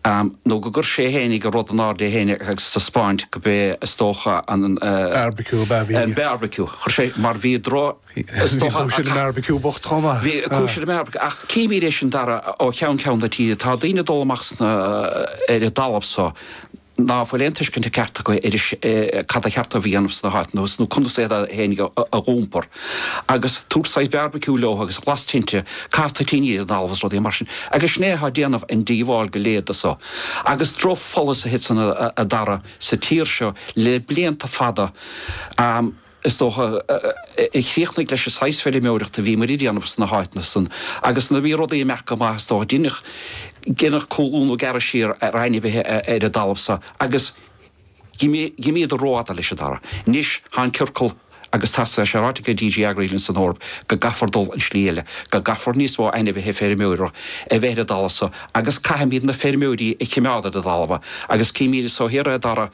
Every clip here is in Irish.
Nó go gcuir sé fhéinig an rud in airde é fhéinig agus taispeáint go b'é is dócha an. Beárbaiciú ab ea a bhí. An beárbaiciú. Chuir sé, mar bhí dro, is dócha. Bhí cúis ar an mbeárbaiciú bocht chomh maith. Bhí cúis ar an mbeárbaiciú. Ach címid é sin Dara ó cheann ceann na tíre. Tá daoine ag dul amach sna, ar an dtalamh so. ná fuil aon tuiscint ceart acu ar cad a cheart dóibh a dhéanamh sna háiteanna thuas nó conas iad fhéinig a dh'iompar. Agus tabhairt saghas beárbaiciú leo agus las tinte, caitheamh toitíní ar an dtalamh is rudaí mar sin. Agus sin é atá ag déanamh an díobháil go léir de so. Agus drochpholasaithe san a Dara sa tír seo le blianta fada. is dócha, a chríochnaigh leis an saghas feirmeoireachta a bhí muid a déanamh sna háiteanna san agus nuair a bhí rudaí ag imeacht go maith, is dócha, deineadh, deineadh cúlú nó gearradh siar ar ainmhithe ar an dtalamh so agus dh'imíodar rófhada leis a Dara. Anois tá an ciorcal agus tá sé ráite ag DG Agri linn san Eoraip go gcaithfear dul an slí eile, go gcaithfear níos mó ainmhithe feirmeora a bheith ar an dtalamh so agus caithfimid na feirmeoirí a chimeád ar an dtalamh agus címid so thiar a Dara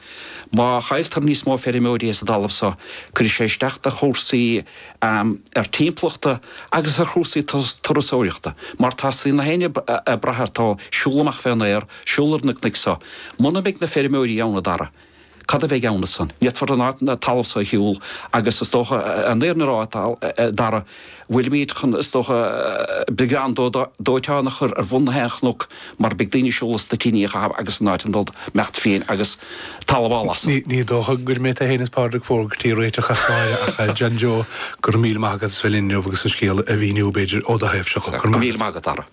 Má chailltear níos mó feirmeoirí as an dtalamh so, cuirfidh sé isteach do chúrsaí ar timpeallachta agus ar chúrsaí turasóireachta, mar tá na héinne ag brath ar tá siúl amach fén aer, siúl ar na cnoic so. Muna mbeidh na feirmeoirí ann, a Dara, cad a bheidh ann ansan? Ní fhéadfar an áit, an talamh so a shiúl agus is dócha, an fhírinne a rá, a Dara, bhfuilimid chun, is dócha, beagán dóiteán a chur ar bhun na haon chnoc mar beidh daoine ag siúl is toitíní a chaitheamh agus an áit an dul imeacht fiain agus talamh á lasadh. Ní dócha go mbeidh tú féin is Pádraig Fogarty réiteach as náire ach John Joe, go raibh míle maith agat as bheith linn inniu agus an scéal a mhíniú, b'fhéidir, ó do thaobhse. Go raibh míle maith agat, Dara.